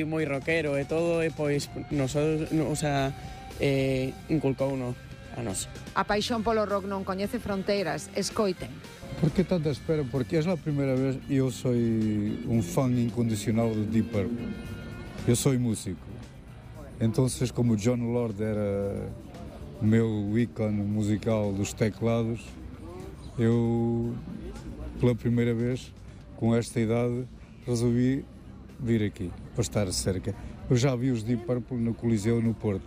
moi rockero e todo, e pois nosotros, inculcouno a nós. A paixón polo rock non coñece fronteiras, escoiten. ¿Por qué tanta espera? Porque es la primera vez y yo soy un fan incondicional de Deep Purple. Yo soy músico. Entonces, como John Lord era o meu ícone musical dos teclados, eu, pela primeira vez, com esta idade, resolvi vir aqui, para estar cerca. Eu já vi os Deep Purple no Coliseu, no Porto,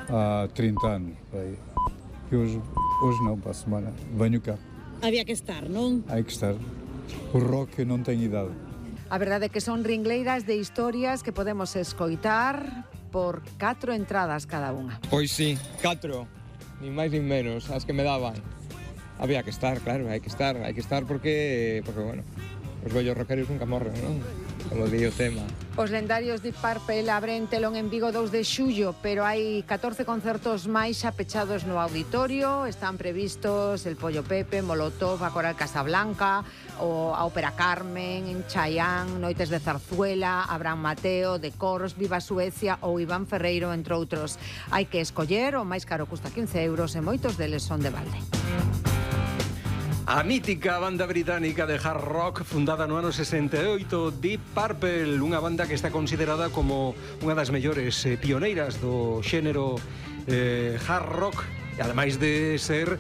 há 30 anos. E hoje não, para a semana, venho cá. Había que estar, non? Hai que estar. O rock non ten idade. A verdade é que son ringleiras de historias que podemos escoitar por 4 entradas cada unha. Pois sí, 4, nin máis nin menos, as que me daban. Había que estar, claro, hai que estar porque bueno, os vellos rockeros nunca morren, non? Como di o tema. Os lendarios Deep Purple abren telón en Vigo 2 de xullo, pero hai 14 concertos máis xa pechados no auditorio. Están previstos el Pollo Pepe, Molotov, a Coral Casablanca, a Ópera Carmen, en Chaián, Noites de Zarzuela, Abraham Mateo, de Coros, Viva Suecia ou Iván Ferreiro, entre outros. Hai que escoller, o máis caro custa 15 euros e moitos deles son de balde. A mítica banda británica de hard rock fundada no ano 68, Deep Purple, unha banda que está considerada como unha das mellores pioneiras do xénero hard rock, e ademais de ser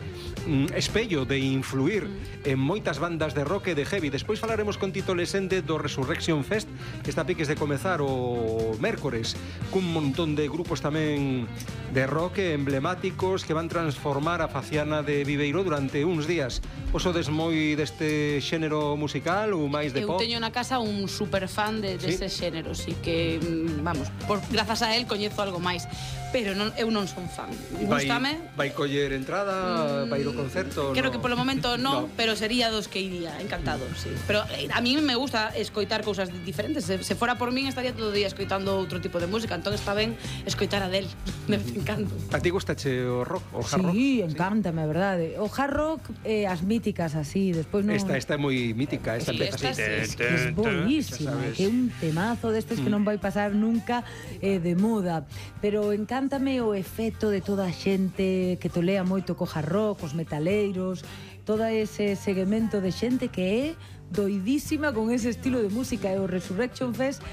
espello, de influir en moitas bandas de rock e de heavy. Despois falaremos con Tito Lesende do Resurrection Fest, que está a piques de comezar o mércores, cun montón de grupos tamén de rock emblemáticos que van transformar a faciana de Viveiro durante uns días. Vos sodes moi deste xénero musical ou máis de pop? Eu teño na casa un super fan dese xénero, así que, vamos, grazas a él coñezo algo máis, pero eu non son fan. Gústame. Vai coller entrada, vai ir ao concerto? Creo que polo momento non, pero sería dos que iría, encantado, sí. Pero a mí me gusta escoitar cousas diferentes. Se fora por min estaría todo o día escoitando outro tipo de música, entón está ben escoitar a del, de vez en cando. A ti gustache o rock, o hard rock? Sí, encántame, a verdade. O hard rock, as míticas así, despois non... Esta é moi mítica, esta empeza así. É boísima, que é un temazo destes que non vai pasar nunca de moda. Pero encántame o efecto de toda a xente que tolea moito co hard rock, os metaleiros, todo ese segmento de xente que é doidísima con ese estilo de música. E o Resurrection Fest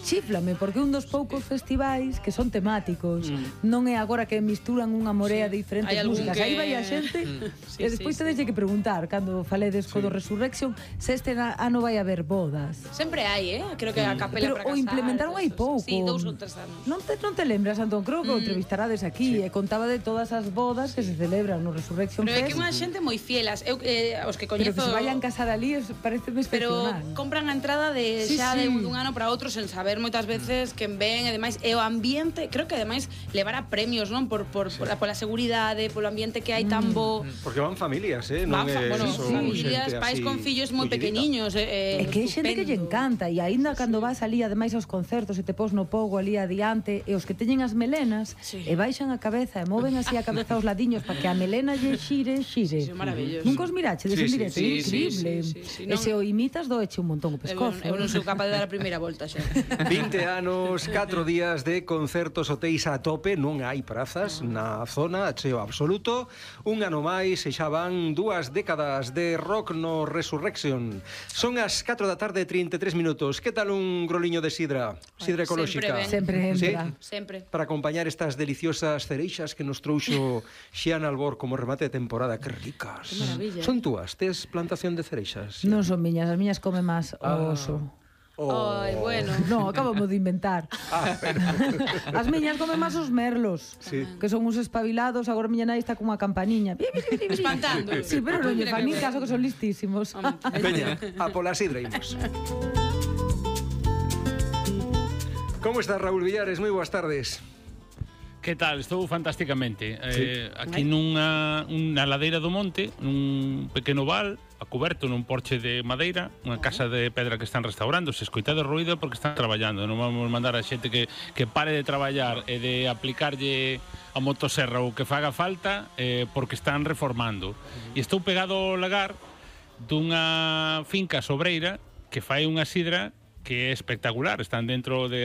chíflame, porque un dos poucos festivais que son temáticos, non é agora que misturan unha morea de diferentes músicas. Aí vai a xente e despois tedes que preguntar, cando faledes co do Resurrection, se este ano vai haber bodas. Sempre hai, creo que a capela para casar. Pero o implementaron hai pouco. Sí, 2 ou 3 anos. Non te lembras, Antón? Creo que o entrevistarades aquí e contaba de todas as bodas que se celebran no Resurrection Fest. Pero é que unha xente moi fielas. Eu, os que coñezo... Pero que se vayan casar ali, pareceme excepcional. Pero compran a entrada de xa de un ano para outro sen saber moitas veces quen ven, e demais, e o ambiente, creo que ademais levará premios, non? Pola seguridade, polo ambiente que hai tan bo. Porque van familias, non é? Bueno, familias, pais con fillos moi pequeniños. É que hai xente que lle encanta, e aínda cando vas ali, ademais aos concertos, e te pos no pogo ali adiante, e os que teñen as melenas, e baixan a cabeza, e moven así a cabeza aos ladiños, para que a melena lle xire. Sí, maravilloso. Nunca os mirachedes en directo, increíble. E se o imitas, doeche un montón o pescozo. Eu non sou capaz de dar a primeira volta xa. 20 anos, 4 días de concertos hotéis a tope, non hai prazas na zona, cheo absoluto. Un ano máis e xa van 2 décadas de rock no Resurrection. Son as 4 da tarde, 33 minutos. Que tal un groliño de sidra? Sidra ecolóxica. Sempre entra. Sempre. Para acompañar estas deliciosas cereixas que nos trouxo Xian Albor como remate de temporada. Que ricas. Que maravilla. Son túas? Tes plantación de cereixas? Non son miñas, as miñas come máis o oso. Ai, bueno. No, acabamos de inventar. As miñas comen máis os merlos, que son uns espabilados. Agora miña nai está con unha campaniña espantando. Sí, pero non lle fan nin caso, que son listísimos. Veña, a pola sidra imos. Como está Raúl Villares? Moi boas tardes. Que tal? Estou fantásticamente. Aquí nunha ladeira do monte, nun pequeno val, a coberto nun porche de madeira, unha casa de pedra que están restaurando. Se escoita de ruído porque están traballando. Non vamos mandar a xente que pare de traballar e de aplicarlle a motosserra ou que faga falta porque están reformando. E estou pegado ao lagar dunha finca sobreira que fai unha sidra que é espectacular, están dentro de